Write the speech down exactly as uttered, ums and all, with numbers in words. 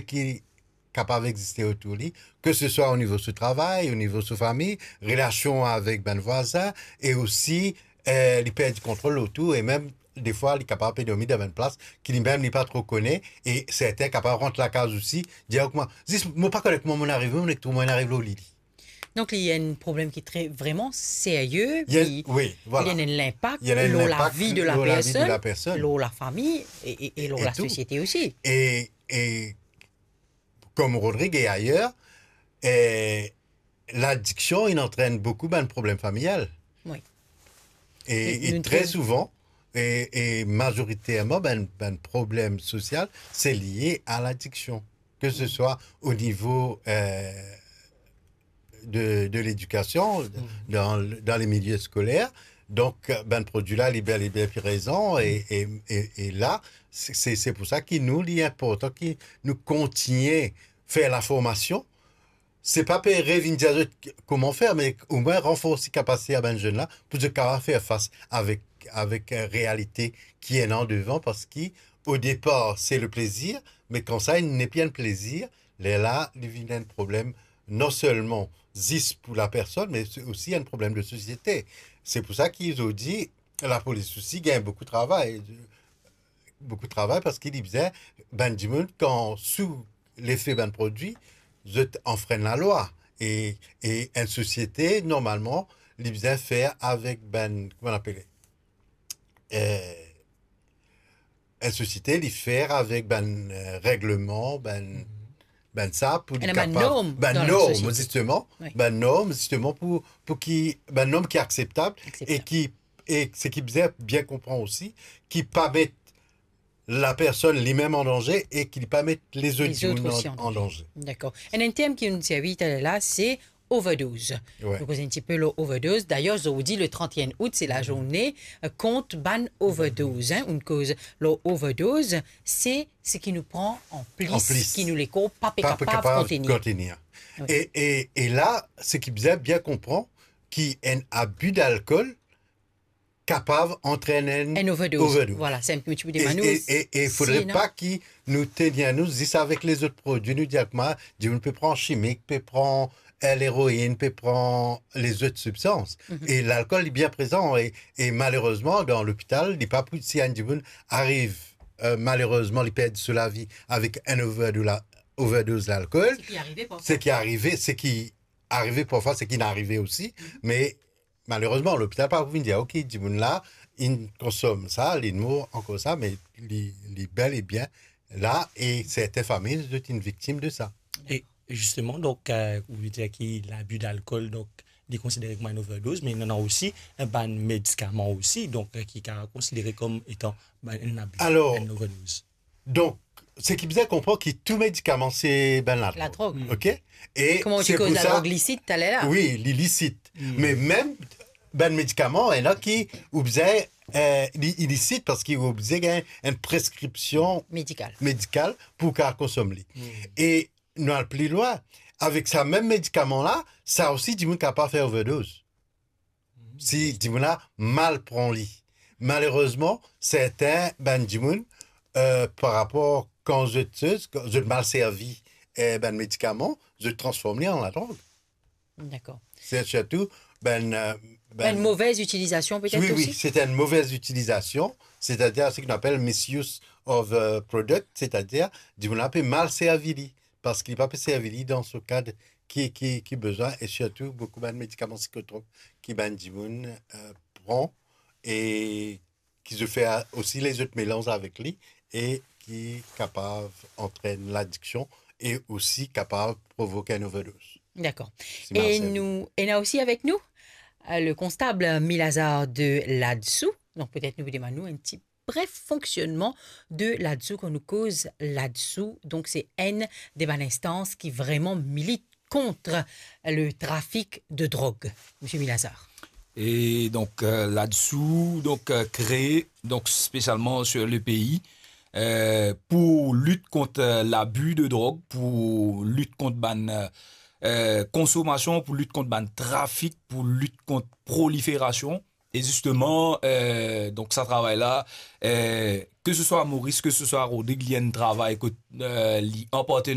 ki kapav existe otour li, ke se swa o nivo so travay, o nivo so fami, relasion avek bann vwazin, e osi, eh, li perdi kontrol lor tou, e mem defwa li kapav pe dormi dan bann plas ki limem li pa tro kone, e sertin kapav rant lakaz osi, dir, "Kouma, zis, mo pa kone kouma mo arive, mo nek trouv mo ariv lor lili." Donk, li ena enn problem ki tre, vreman serye, Il y a, ki, oui, voilà. Li ena enn linpak Il y a un lor impact lavi de la lor lavi de la personn, personne. Lor lafami e, e, e lor Et la tout. Sosiete osi. Et, et comme Rodrigue et ailleurs, eh, l'addiction, il entraîne beaucoup ben, de problèmes familiales. Oui. Et, Et et nous très trouvons- souvent, et, et majoritairement, ben, ben, problème social, c'est lié à l'addiction. Que ce soit au niveau euh, de, de l'éducation, dans, le- dans les milieux scolaires. Donc, euh, ben, produit-là, il est bel et bien présent. Et, et, et, et là, c'est c'est- c'est pour ça qu'il nous, il est important que nous continuions à faire la formation. Se pa pe revinn dir zot kouma fer, me omwin ranforsi kapasite a bann zenn la pou zot kapav fer fas avek, avek euh, realite ki ena devan, parski o depar se le plezir, me kan sa li nepli enn plezir, lerla li vinn enn problem non selman zis pou la personn, me se osi enn problem de sosiete. Se pou sa ki zot dir, lapolis osi gagn boukou travay. Boukou travay parski li bizin, bann dimoun kan sou lefe bann produi, zot anfrenn lalwa. E, e enn sosiete, normalman, li bizin fer avek bann, kouma apele, eh, enn sosiete, li fer avek bann eh, regleman, bann, bann sa, pou li Ena bann kapav, norm bann dan la norm, sosiete. Zisteman, Oui. Bann norm, zisteman, pou, pou ki, bann norm ki akseptab, Akseptab. E ki, e se ki bizin bien konpran osi, ki pa met la personn limem an danze e ki li pa met lezot Lezot dimoun osi an, an an danze. danze. Dakor. Enn, enn term ki nou'nn servi taler la, se overdose. Ouais. Nou koz enn tipe lor overdose. Dayer, zordi, le trente et un août, se lazourne euh, kont bann overdose. Hein. Nou'nn koz lor overdose, se seki nou pran an plis, An plis. Ki nou lekor pa pe Pa pe kapav kapav kontenir. Kontenir. Oui. E, e, e la, se ki bizin bien konpran, ki enn abi dalkol kapav antrenn enn Enn overdose. Voilà, se enn ti pe demann ou. E, e, e fodre pa ki nou tenir nou zis avek lezot produi, nou dir kouma, dimoun pe pran chimik, pe pran eh, leroinn, pe pran lezot sibstans. E lalkol li bien prezan e, e malerezman, dan lopital, li pa pou, si enn dimoun ariv, eh, malerezman, li perdi so lavi avek enn overdo-, la, overdose lalkol, Seki arive parfwa. Seki arive, seki arive parfwa, seki inn arive osi, me malerezman, lopital pa pou vinn dir, "Ok, dimoun la, inn konsom sa, li mor akoz sa," me li, li bel e bien la, e sertin fami, zot inn viktim de sa. E zisteman, donk, eh, ou dir ki labi dalkol, donk, li konsidere kouma enn overdose, me ena osi, eh, bann medikaman osi, donk, eh, ki ka konsidere kom etan bann enn abi, Alor, enn overdose. Donk, seki bizin konpran ki tou medikaman se bann ladrog. Ladrog. Ok? E Kouma ou ti koz ladrog lisit taler la? Wi, li lisit. Me mem bann medikaman, ena ki ou bizin, eh, li ilisit parski ou bizin gagn enn preskripsion Medikal. Medikal pou kapav konsom li. E nou al pli lwin, avek sa mem medikaman la, sa osi dimoun kapav fer overdose. Si dimoun la mal pran li. Malerezman, sertin bann dimoun, eh, par rapor kan zot, kan zot mal servi, eh, bann medikaman, zot transform li an ladrog. Dakor. Se sirtou bann, eh, Enn movez itilizasion petet osi? Wi, se enn movez itilizasion, setadir seki nou apel misuse of, eh, product, setadir dimoun la pe mal servi li, parski li pa pe servi li dan so kad ki, ki, ki bizin, e sirtou boukou bann medikaman sikotrop ki bann dimoun, eh, pran e ki zot fer osi lezot melanz avek li e ki kapav antrenn ladiksion e osi kapav provok enn overdose. Dakor. Si mal servi. Nou ena osi avek nou, eh, le konstab Milazar de Ladsou. Donk petet nou pou demann ou enn ti bref fonksionnman de Ladsou, kan nou koz Ladsou. Donk se enn de bann instans ki vreman milit kont le trafik de drog, Misie Milazar. E donk, eh, Ladsou, donk, eh, kree, donk, spesialman sur le pei, eh, pou lit kont, eh, labi de drog, pou lit kont bann, eh, konsomasion, pou lit kont bann trafik, pou lit kont proliferasion. E zisteman, euh, donk sa travay la, euh, ke se swa Moris, ke se swa Rodrig, li enn travay kot, euh, li an partenerya